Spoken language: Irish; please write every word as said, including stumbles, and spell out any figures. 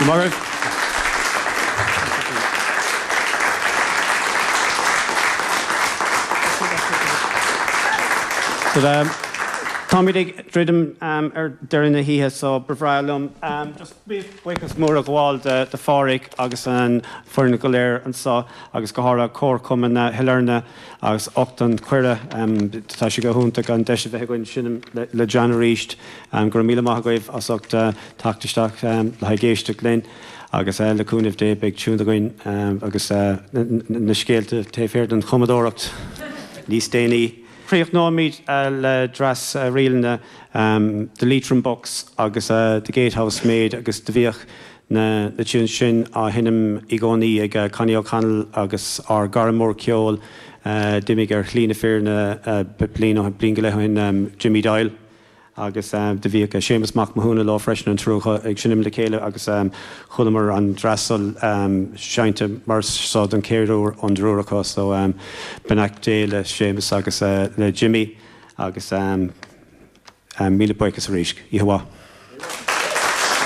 Go So um, Táimid ag druidim um, ar deireadh na hoíche so ba bhreá liom um, just buíochas mór a ghabháil de, de Pháraic agus an foireann go léir anseo agus go háirithe Comharchumann na hIlearna as ucht an cuireadh um, tá sé go hiontach an deis a bheith againn seinm le, le John arís um, go raibh míle maith agaibh as ucht uh, teacht isteach um, le haghaidh éisteacht linn agus uh, le cúnamh Dé beidh tiún againn um, agus uh, na scéalta taobh thiar den chumadóireacht níos déanaí. Críochnóimid uh, le dreas uh, ríleanna um, The Leitrim Bucks agus uh, The Gatehouse Maid agus do bhíodh na, na tiún sin á sheinm i gcónaí ag uh, Connie O'Connell agus ár gcara mór ceoil uh, d'imigh ar shlí na fírinne uh, bliain bliain go leith ó shin um, Jimmy Doyle. agus um, do bhíodh Séamus Mac Mathúna leo freisin an triúr ag seinm le chéile agus um, chualamar an dreas um, seinnte mar seo den chéad uair ón dtriúr acu so um, beannacht Dé le Séamus agus uh, le Jimmy agus um, um, míle buíochas arís. Oíche mhaith.